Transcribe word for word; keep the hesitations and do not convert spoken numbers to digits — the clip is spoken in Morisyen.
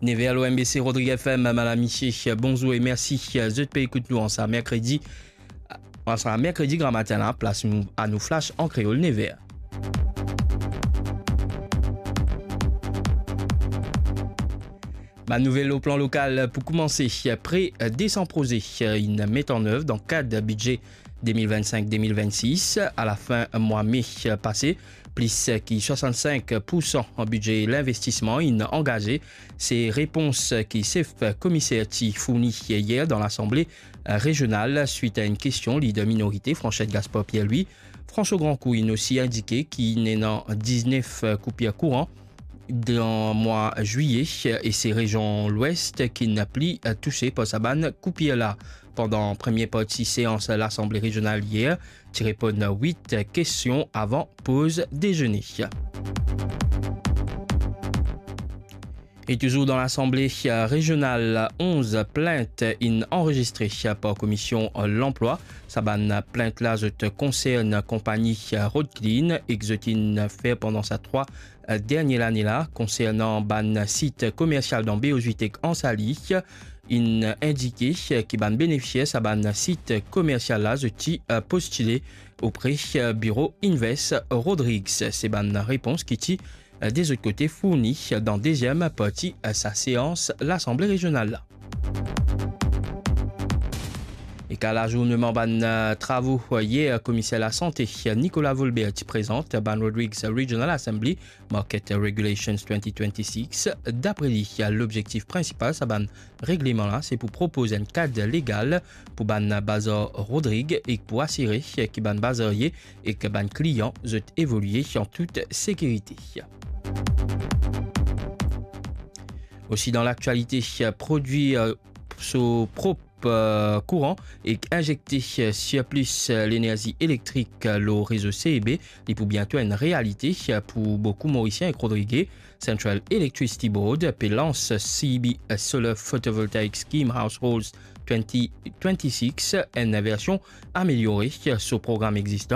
Nev er lor M B C Rodrig F M, madam, misie, bonzour e mersi zot pe ekout nou an sa merkredi. An sa merkredi gramatin la, plas nou a nou flash an kreol, nev er. Bann nouvel lor plan lokal. Pou koumanse, pre de san proze inn met an nev dan kad bidze de mil vennsenk de mil vennsis. A lafin mwa me pase, plis ki swasannsink pou san bidze linvestisman inn angaze. Se repons ki sef komiser ti fourni yer dan Lasanble rezional swit a enn kestion lider minorite Franchette Gaspard Pierre-Louis. François Grandcourt inn osi indike ki inn ena diznef koupir kouran dan mwa zwiye e se rezion Lwes ki inn pli touse par sa bann koupir la. Pandan premie parti seans Lasanble rezional yer, ti reponn wit kestion avan poz dezene. E touzour dan Lasanble rezional, onz plint inn anrezistre par Komisyon Lanplwa. Sa bann plint la zot konsern konpagni Road Clean ek zot inn fer pandan sa trwa dernie lane la konsernan bann sit komersial dan Beozwit ek Ansali. Inn indike ki bann benefisier sa bann sit komersial la zot ti postile opre biro Invest Rodrigues. Se bann repons ki ti de zot kote fourni dan deziem parti sa seans Lasanble rezional la. E ka lazourneman bann travo yer, Komiser Lasante Nicolas Volbert ti prezant bann Rodrigues Regional Assembly Market Regulations twenty twenty-six. Dapre li, lobzektif prinsipal sa bann regleman la se pou propoz enn kad legal pou bann bazar Rodrig ek pou asire ki bann bazarie ek bann klian zot evolie an tout sekirite. Osi dan laktialite, prodwir so prop kouran ek inzekte sirplis lenerzi elektrik lor rezo C E B, li pou biento enn realite pou boukou Morisien ek Rodrige. Central Electricity Board pe lans C E B Solar Photovoltaic Scheme Households twenty twenty-six, enn version ameliore so program existan